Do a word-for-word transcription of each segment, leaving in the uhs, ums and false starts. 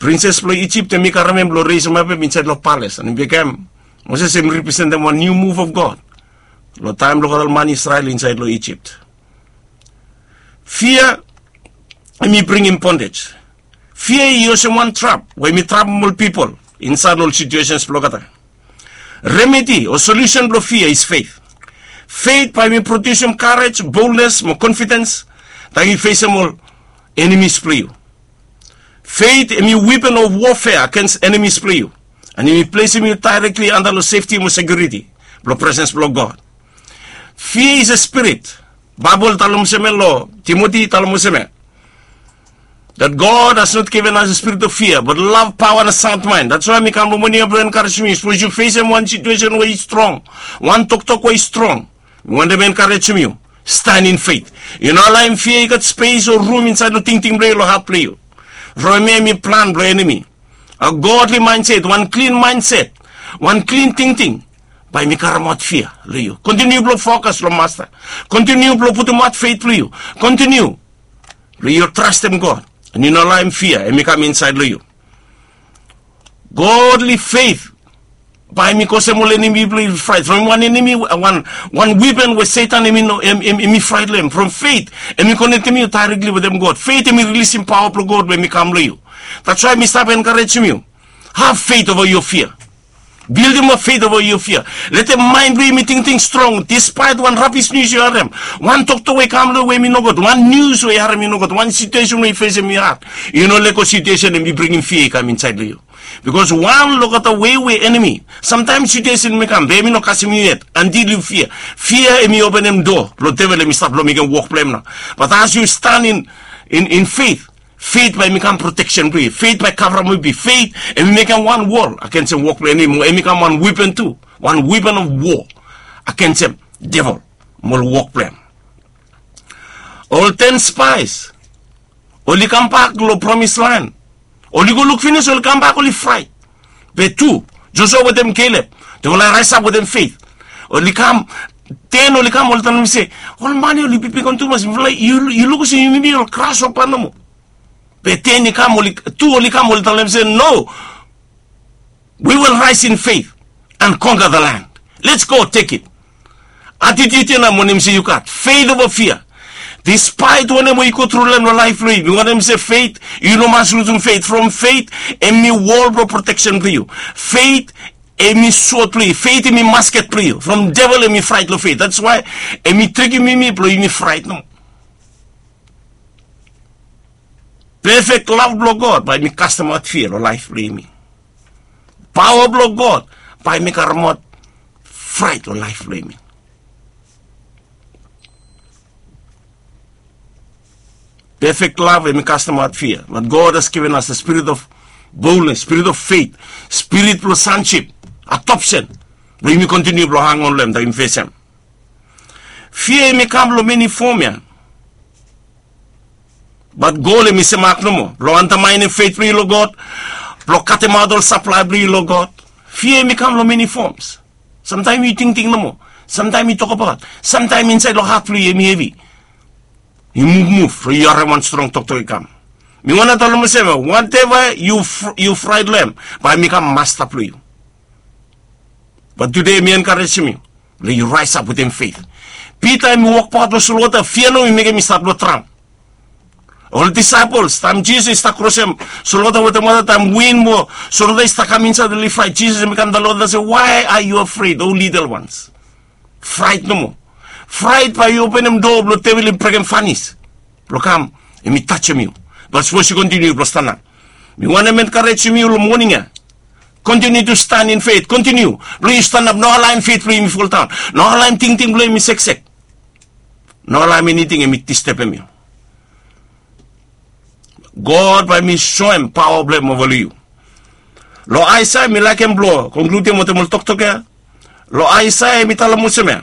Prinses blong Ijip, hemi karem hem blong resemap hem insaed long palace, and hemi bekem, Moses hemi representem wan niu move of God long taem blong ol man Israel insaed long Ijip. Fia hemi bringim bondage. Fia i olsem wan trap we hemi trapem ol pipol insaed long ol situations blong olgeta. Remedi o solusen blong fia is faith. Faith bae hemi produsem courage, boldness mo confidence taem yu fesem ol enemies blong yu. Faith hemi weapon of warfare against enemies blong yu, and hemi plesem yu directly anta long safety mo security blong presence blong God. Fear is a spirit. Baebol talem olsem ya long Timoti, talem olsem ya, that God has not given us a spirit of fear, but love, power, and a sound mind. That's why mi kam long moning ya blong enkarejem yu. Sapos yu fesem wan situation we i strong, wan toktok we i strong, mi wantem enkarejem yu, stand in faith. Yu no alaem fia i gat spes o rum insaed long tingting blong yu, long hat blong yu. From hemia hemi plan blong enemi. A godly mindset, wan klin mindset, wan klin tingting, bae hemi karemaot fia long yu. Kontiniu blong fokas long Masta. Kontiniu blong putumaot faith blong yu. Kontiniu blong yu trastem God, and yu no alaem fia hemi kam insaed long yu. Godly faith bae hemi kosem ol enemi blong yu fraet. From wan enemi, wan, wan weapon we Setan hemi no, hem, hem, hemi fraet long hem. From faith, hemi konektem yu directly wetem God. Faith hemi rilisim paoa blong God we hemi kam long yu. That's why mi stap enkarejem yu. Have faith over your fear. Bildimap faith over your fear. Letem maen blong yu hemi tingting strong, despite wan rabis nius yu harem, wan toktok we i kam long yu we hemi nogud, wan nius we yu harem i nogud, wan situation we yu fesem i had. Yu no lego situation hemi bringim fia i kam insaed long yu. Bikos wan long olgeta wei we enemi, samtaem situation hemi kam, be hemi no kasem yu yet, antil yu fia. Fia hemi openem doa blong devil hemi stap blong mekem wok blong hem nao. But as yu stand in, in, in faith, faith bae hemi kam proteksen blong yu. Faith bae kavrapim yu. Faith hemi mekem wan wol agensem wok blong enemi, mo hemi kam wan weapon tu, wan weapon of war agensem devil mo ol wok blong hem. Ol ten spies oli kambak long promise land. Oli go luk finis, oli kambak, oli fraet. Be tu, Josua wetem Kelep, tufala i raesap wetem faith. Oli kam, ten oli kam, oli talem se, ol man ya oli bigwan tumas, mifala, yu, yu luk olsem yumi ol grasshopper nomo. Be ten i kam, oli, tu oli kam, oli talem se, no, we will rise in faith and conquer the land. Let's go take it. Attitude ya nao mi wantem se yu gat faith over fear. Despite wanem we yu go tru long hem long laef blong yu, mi wantem se faith, yu no mas lusum faith. From faith, hemi wol blong proteksen blong yu. Faith, hemi sot blong yu. Faith, hemi masket blong yu. From devil, hemi fraet long faith. That's why hemi trikim yumi blong yumi fraet nomo. Pefek lav blong God bae hemi kastemaot fia long laef blong yumi. Paoa blong God bae hemi karemaot fraet long laef blong yumi. Pefek lav hemi kastemaot fia. But God has given us a spirit of boldness, spirit of faith, spirit blong sonship, adoption, blong yumi kontiniu blong hangon long hem taem yumi fesem. Fia hemi kam long many form ya. Bat gol hemi semak nomo blong antamaenem feit blong yu long God, blong katemaot ol saplae blong yu long God. Fia hemi kam long many forms. Samtaem yu tingting nomo, samtaem yu tokbaot, samtaem insaed long hat blong yu hemi hevi. Yu muvmuv long yu harem wan strong toktok i kam. Mi wantem talem olsem, wateva yu fraet long hem, bae hemi kam masta blong yu. Bat tude mi enkarejem yu blong yu raesap wetem feit. Pita hemi wokbaot long solwota, fia nomo i mekem i stat blong draon. Ol disaepol, taem Jisas i stap krosem solwota wetem wota, taem win mo solwota i stap kam insaed, oli fraet. Jisas hemi kam talem long olgeta se, "Why are you afraid, O little ones?" Fraet nomo. Fraet bae i openem doa blong devil i brekem fanis blong kam hemi tajem yu. Bat sapos yu kontiniu blong stanap, mi wantem enkarejem yu long moning ya. Kontiniu tu stan in feit. Kontiniu blong yu stanap. No alaem feit blong yu hemi foldaon. No alaem tingting blong yu hemi seksek. No alaem eniting hemi distebem yu. God bae hemi soem paoa blong hem ova long yu. Long Aesaea, mi laekem blong konkludim wetem ol toktok ya. Long Aesaea hemi talem olsem ya.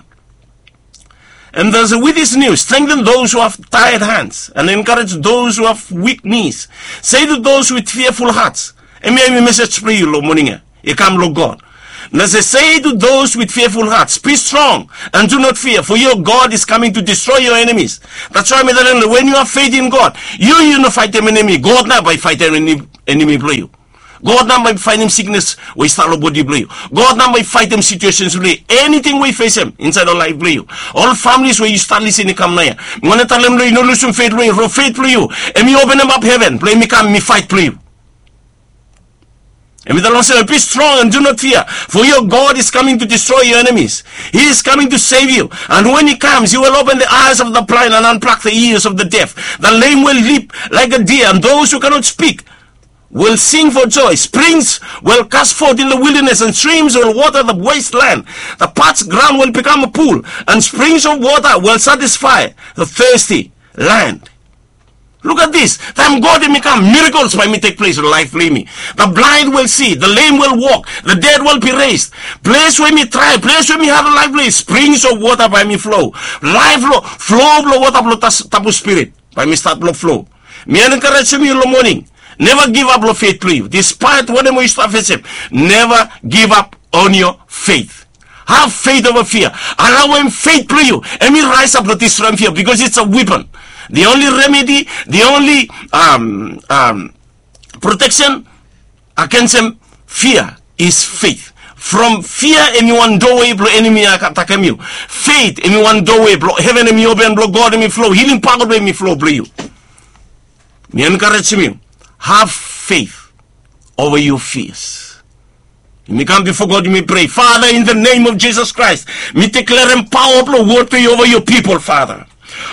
And there's a, with this news, strengthen those who have tired hands and encourage those who have weak knees. Say to those with fearful hearts. Hemia hemi mesej blong yu long moning ya. I kam long God. Nao say to those with fearful hearts, be strong and do not fear, for your God is coming to destroy your enemies. That's why mi talem, when you have faith in God, yu yu no faetem enemi. God nao bae i faetem enemi blong yu. God nao bae i faetem siknes we i stap long bodi blong yu. God nao bae i faetem situations blong yu, eniting we i fesem insaed long laef blong yu. Ol families we yu stap lisin i kam naoia, mi wantem talem blong yu, yu no lusum feit blong yu. From feit blong yu, hemi openem ap heven blong hemi kam, hemi faet blong yu. Hemi talem olsem, be strong and do not fear, for your God is coming to destroy your enemies. He is coming to save you. And when he comes, he will open the eyes of the blind and unplug the ears of the deaf. The lame will leap like a deer, and those who cannot speak will sing for joy. Springs will gush forth in the wilderness, and streams will water the wasteland. The parched ground will become a pool, and springs of water will satisfy the thirsty land. Look at this. Taem God hemi kam, miracles bae hemi tek ples long laef blong yumi. The blind will see, the lame will walk, the dead will be raised. Ples we yumi drae, ples we yumi harem laef blong yu, springs of water bae hemi flo. Laef long, flo blong wota blong Tabu Spirit bae hemi stat blong flo. Mi enkarejem yu long moning, neva givap long feit blong yu. Dispaet wanem we yu stap fesem, neva givap on your faith. Have faith over fear. Alaoem feit blong yu hemi raesap blong distroem fia, because it's a weapon. The only remedy, the only protection agensem fia is feit. From fia hemi wan dowe blong enemi atakem yu, feit hemi wan dowe blong heven hemi open, blong God hemi flo, hilim paoa blong hemi flo blong yu. Mi enkarejem yu, have faith over your fears. Yumi kam bifo God, yumi prea. Father, in the name of Jesus Christ, mi deklarem paoa blong wod blong yu ova yu pipol, Father.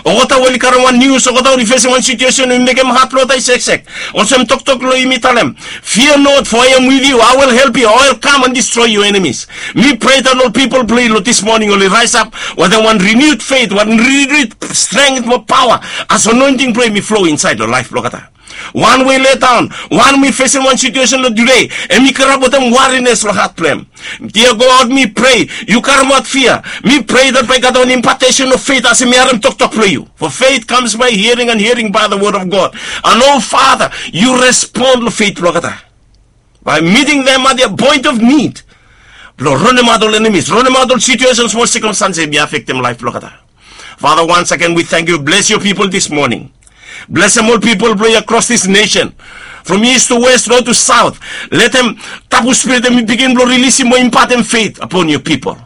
Olgeta we oli karem wan nius, olgeta we oli fesem wan situesen we mekem hat blong olgeta i seksek, olsem toktok blong yu hemi talem, fear not, for I am with you. I will help you. I will come and destroy your enemies. Mi prea dat ol pipol blong yu long dis moning oli raesap wetem wan renewed faith, wan renewed strength mo paoa, as anointing blong yu hemi flo insaed long laef blong olgeta. Wan we i letdaon, wan we i fesem wan situesen long tude, hemi karap wetem warines long hat blong hem. Dia God, mi prea yu karemaot fia. Mi prea dat bae i gat wan impartation of faith as hemi harem toktok blong yu. For faith comes by hearing, and hearing by the word of God. And oh Father, yu respon long feit blong olgeta by meeting them at their point of need, blong ranemaot ol enemies, ranemaot ol situations mo circumstances hemi afektem laef blong olgeta. Father, once again we thank you. Bless your people this morning. Blesem ol pipol blong yu across this nation, from east to west, north to south. Letem Tabu Spirit hemi bigin blong rilisim mo impatem feit upon your people.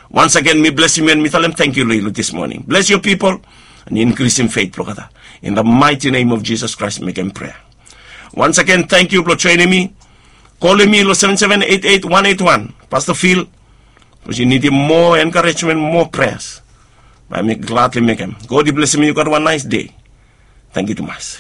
Once again mi blesem yu and mi talem tangkiu long yu long dis moning. Bless your people and inkrisim feit blong olgeta. In the mighty name of Jesus Christ, mekem prea. Once again, tangkiu blong joenem mi. Kolem mi long seven seven eight eight one eight one, Pastor Phil. Sapos yu nidim moa enkarejmen, moa preas, bae mi gladly mekem. God i blesem yu. Gat wan naes dei. Tangkiu tumas.